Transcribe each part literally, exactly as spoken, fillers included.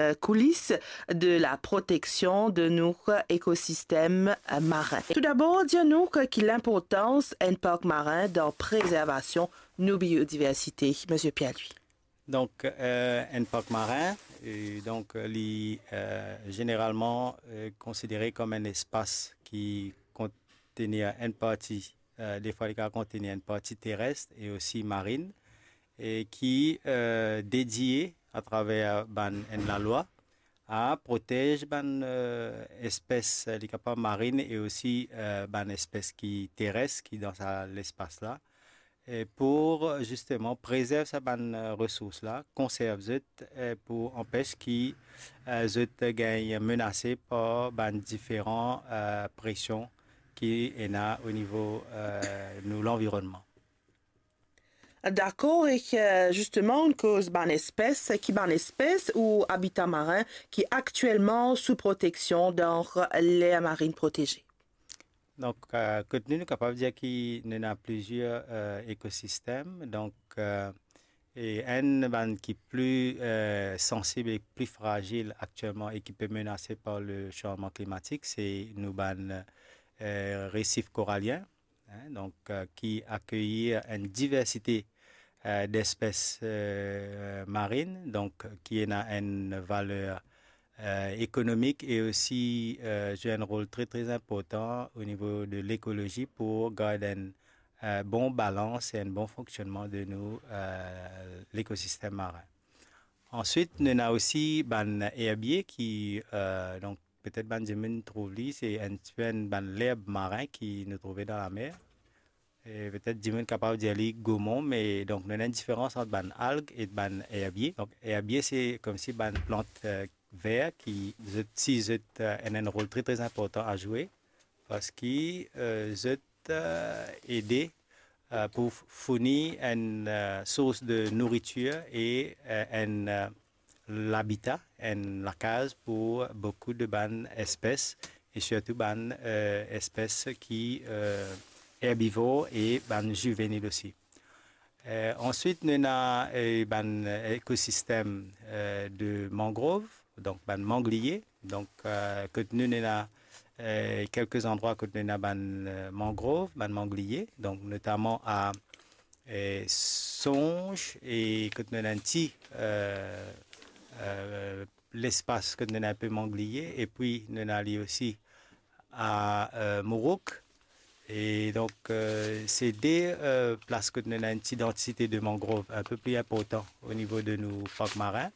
euh, coulisses de la protection de nos écosystèmes, euh, marins. Tout d'abord, dir nou ki linportans enn park marin dan prezervasion nou biodiversite, Monsieur Pierre-Louis. Donk, euh, enn park marin, euh, donk, euh, li, euh, zeneralman, euh, konsidere kom enn espas ki kontenir enn parti, euh, defwa li kapav kontenir enn parti teres e osi marinn, e ki, euh, dedie atraver bann, enn lalwa a protez bann, euh, espes, li kapav marinn e osi, euh, bann espes ki teres ki dan sa lespas la, e pou zisteman prezerv sa bann, euh, resours la, konserv zot, e pou anpes ki, euh, zot gagn menase par bann diferan, euh, presion ki ena o nivo, euh, nou lanvironnman. Dakor, e, euh, zisteman, nou koz bann espes, ki bann espes ou abita marin ki aktielman sou proteksion dan ler marinn proteze? Donk, euh, kot nou, nou kapav dir ki nou ena plizier, euh, ekosistem. Donk, euh, e enn bann ki pli, euh, sansib e pli frazil aktielman e ki pe menase par le sanzman klimatik, se nou bann, euh, resif koralien, hein, donk, euh, ki akeyir enn diversite, euh, d'espes, euh, marinn, donk, ki ena enn valer, euh, ekonomik e osi, euh, zwe enn rol tre, tre inportan o nivo de lekolozi pou gard enn, euh, bon balans e enn bon fonksionnman de nou, euh, lekosistem marin. Answit, nou ena osi bann erbie ki, euh, donk, petet bann dimoun trouv li, se enn tipe enn bann lerb marin ki nou trouve dan lamer. E petet dimoun kapav dir li gomon, me donk nou ena enn diferans ant bann alg e bann erbie. Donk erbie se komsi bann plant, euh, ver ki zot, si zot, euh, ena enn rol tre, tre inportan a zwe, parski, euh, zot, euh, ede, euh, pou f-, fourni enn, euh, sours de nouritir e, euh, enn, euh, labita, enn lakaz pou boukou de bann espes, e sirtou bann, euh, espes ki, euh, erbivor e bann zivenil osi. Euh, answit, nou ena, euh, bann ekosistem, euh, de mangrov, donk bann mangliye. Donk, euh, kot nou, nou ena, euh, kelke zandrwa kot nou ena bann, euh, mangrov, bann mangliye, donk notaman a, euh, Songe, e kot nou ena enn ti, euh, euh, lespas kot nou ena enpe mangliye, epi nou ena li osi a, euh, Mourouk. E donk, euh, se de, euh, plas kot nou ena enn ti dantite de mangrov enpe pli inportan o nivo de nou park marin.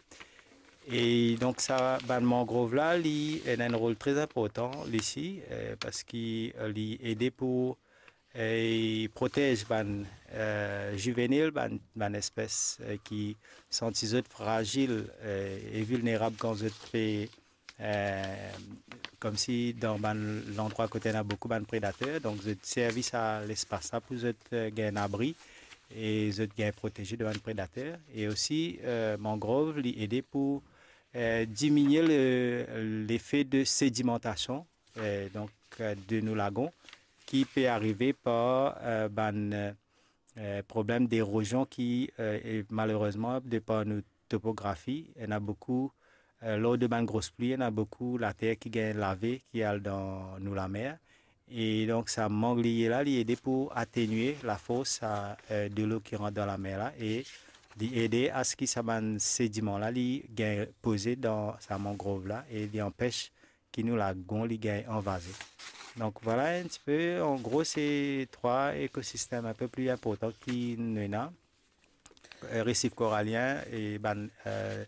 E donk sa, bann mangrov la, li ena enn rol tre inportan, li si, euh, parski, euh, li ede pou, euh, protez bann, euh, zivenil, bann, bann espes, euh, ki santi zot frazil, euh, e vilnerab kan zot pe, euh, komsi dan bann landrwa kot ena boukou bann predater, donk zot servi sa lespas la pou zot, euh, gagn abri e zot gagn proteze de bann predater. E osi, euh, mangrov, li ede pou, euh, diminie le, lefe de sedimantasion, euh, donk, euh, de nou lagon, ki pe arive par, euh, bann, euh, euh, problem derozion ki, euh, e malerezman, de par nou topografi, ena boukou, euh, lor de bann gro pli, ena boukou later ki gagn lave, ki al dan nou lamer. E donk, sa mangliye la, li ede pou atenue lafors sa, euh, delo ki rant dan lamer la, e li ede aski sa bann sediman la, li gagn poze dan sa mangrov la, e li anpes ki nou lagon li gagn anvaze. Donk, vwala enn tipe, an gro, se trwa ekosistem enpe pli inportan ki nou ena, euh, resif koralien e bann, euh,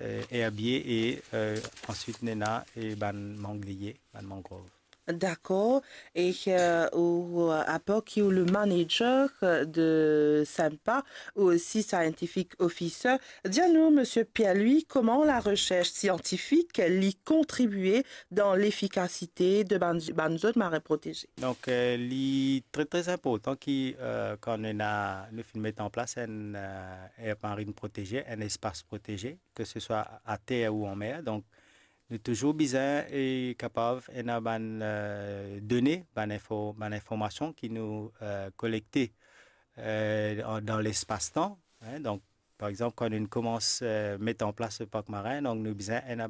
euh, erbie e, euh, answit nou ena e bann mangliye, bann mangrov. Dakor. E, euh, ou, euh, apar ki ou le manager, euh, de SIMPA, ou osi scientific officer, dir nou, Monsieur Pierre-Louis, kouma laresers siantifik li kontribie dan lefikasite de bann, bann zot marin proteze? Donk, euh, li tre, tre inportan ki, euh, kan nou ena, nou finn met an plas enn, euh, aire marine protégée, enn espas proteze, ke se swa ater ou anmer. Donk, nou touzour bizin e kapav ena bann, euh, done, bann info-, bann informasion ki nou, euh, kolekte, euh, an, dan lespas-tan, hein. Donk, Par exanp, kan nou koumans, eh, met an plas le park marin, donk nou bizin enn